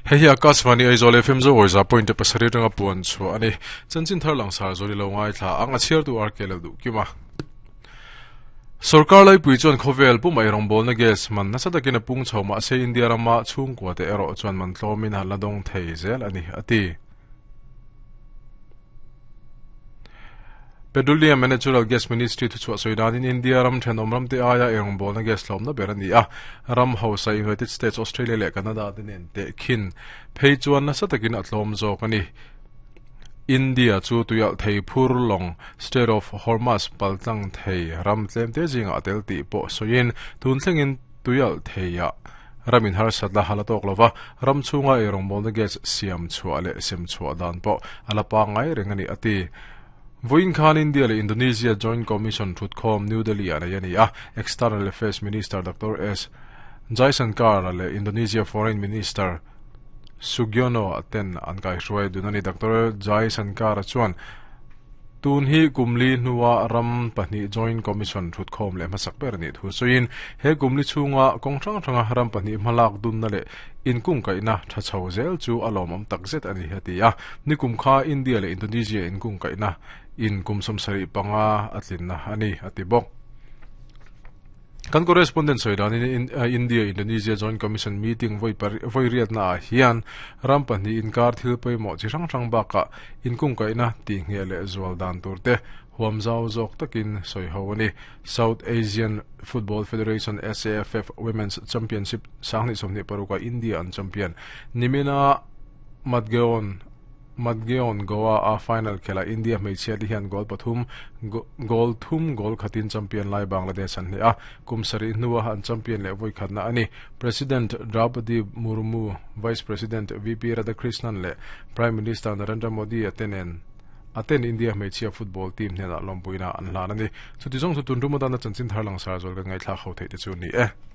Hei hi Akashvani Aizawl FM Zo Awza point pasarih atanga puan chhuah a ni. Chanchin thar langsar zawr i lo ngaithla ang a chhiartu RK lo duh kim a. Sorkar laipui chuan khawvel pumah rawngbawlna gas man nasa takin a pung chho mahse India rama chhungkua te erawh chuan man tlawmin a la dawng thei zel a ni a ti. Petroleum and Natural Gas Ministry thuchhuah sawi danin India ram thenawm ramte aia eirawngbawlna gas hlawmna ber a ni a, ram hausa United States, Australia leh Canada te nen tehkhin phei chuan nasa takin a tlawm zawk a ni. India chu tuialh thei phur lawng Strait of Hormuz paltlang thei ram tlemte zingah a tel tih pawh sawiin tun thlengin tuialh theiah Ramin harsat la hal a tawk lova, ram chhunga eirawngbawlna gas siam chhuah leh sem chhuah dan pawh a la pangngai reng a ni, a ti. Vawiin khan India leh Indonesia Joint Commission thutkhawm New Delhi-ah nei a ni a, External Affairs Minister Doctor S. Jaishankar leh Indonesia Foreign Minister Sugiono ten an kaihruai dun a ni. Doctor Jaishankar chuan, Tun hi kum li hnua ram pahnih Joint Commission thutkhawm leh hmasak ber a nih thu sawiin, he kum li chhunga kawng hrang hranga ram pahnih hmalak dunna leh inkungkaihna tha chho zel chu a lawmawm takzet a ni, a ti a. Nikum kha India leh Indonesia inkungkaihna in kum 75 a tlinna a ni, a ti bawk. Kan correspondent sawi danin India Indonesia Joint Commission meeting vawi vawi riatna ah hian ram pahnih inkar thil pawimawh chi hrang hrang bakah inkungkaihna tih ngheh leh zual dan tur te huam zau zawk takin sawi ho a ni. South Asian Football Federation, SAFF, Women's Championship 2026 ah India an champion. Nimina Madgaon Madgaon Goa a final khelh ah India hmeichhia te hian goal pathum goal thum goal khatin champion lai Bangladesh an hleh a, kum sarih hnua an champion leh vawi khatna a ni. President Draupadi Murmu, Vice President VP Radhakrishnan leh Prime Minister Narendra Modi a te nen a ten India hmeichhia football team hnenah lawmpuina an hlan a ni. Chuti zawng chu tun rum atana chanchin thar langsar zual kan ngaihthlak ho theih te chu a ni e.